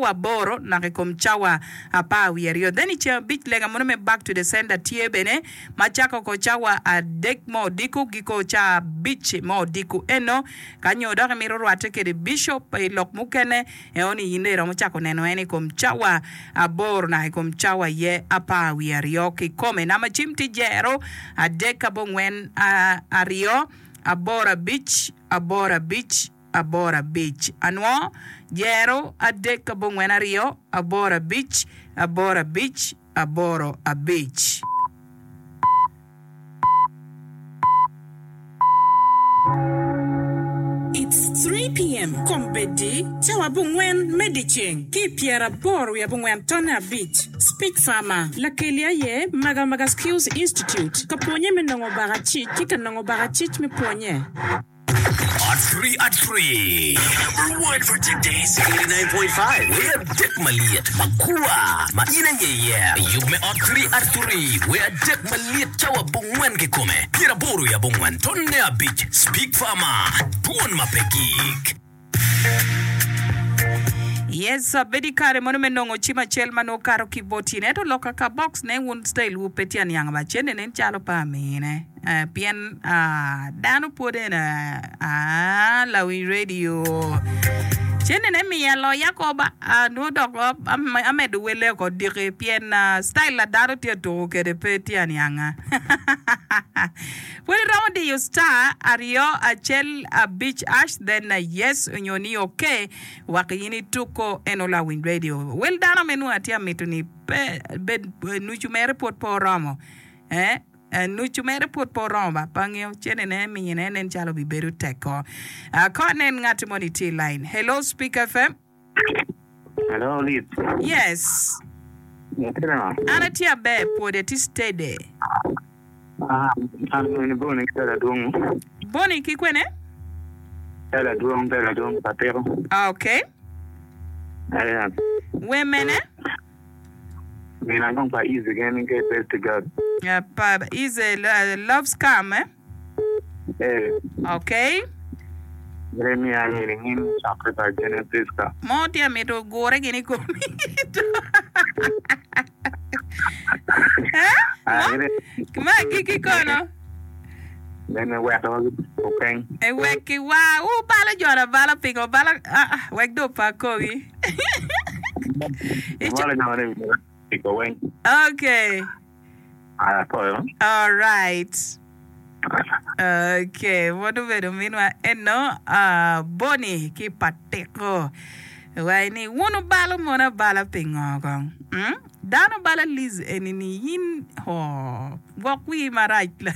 cawa aboro naka i kom cawa 12. Then i ceng abic lega mono me Back to the Sender tye bene ma cako oko cawa adek me odiko giko ca abic me odiko eno. Ka nyo dok imito rwatte kede bishop i lok mukene, eno ni in dong iromo cako neno en i kom cawa aboro naka i kom cawa aye 12 kikome. Namba cim tye jero adek abongwen aryo aboro abic aboro abic aboro abic. Anwo, jero adek abongwen aryo aboro abic aboro abic aboro abic. It's 3 PM, Kombeddi, cawa abongwen me dyeceng ki i pyeraboro wiye abongwen tonne abic. Speech Farmer, Lakeli aye Magamaga Skills Institute, ka pwonye me nongo bakacic ki ka nongo bakacic me pwonye. At three at three. Number one for today's 89.5. Wer adek malyet magwar ma in aye iye. Yub me ot three at three. Wer adek malyet cawa abongwen kikome. 80 i abongwen tonne abic. Speak Farmer. Dwon ma pe gik. Yes, abedo i kare mono me nongo cim acel ma nongo kato ki bot in. Ento loka ka box ne wun style wu pe tye aniang ba. Cente nen calo pe amine. Eh, pien ah, dano pwod en ah, lawiny radio. Cente ne miya loya ko ba. Ah, nongo dok am- amedo wele oko diki pien ah, style la dano tye tuko kede pe tye anianga. Pwod iromo diyo star aryo acel abic ash then yes onyo ni ok wek in ituko eno lawiny radio. Wel dano me nongo atye amito ni pe bed nucu mere pwod pe oromo eh nucu mere pwod pe oromo ba pe angeyo cene ne mine nen calo bibedo tek ko. Ko anen ngati moni tye i line. Hello Speak FM. Hello, Liz. Yes. Itye nanga? An atye aber, pwode atye steady. Ah, an ni Boni ki Bella Dwong. Boni ki kwene? Bella Dwong, Bella Dwong pa Tiko. Ah, okay. Aya. We mene? Mina dong pa Easy gen ke best girl. Uh, pa Easy uh, loves come eh? Eh. Okay. Gire miya ngini ngin cokre pa Jene Priska. Mo tye amito gure gini komi. Eh? Ah, Mo? gire. Ma agikki kono. Bene weko okeng. E wek ki wa wu balo jona abala pingo bala ah, ah, wek do pa kogi. Ico- Balo jona ni weng. Okay. Apwoyo. Alright. Okay, wod obedo minwa eno uh, Boni ki Patiko. Wai ni wun wubalo mon abala pingo kong? Mm? Dano bala Liz eni ni in ho gwok wii marac la.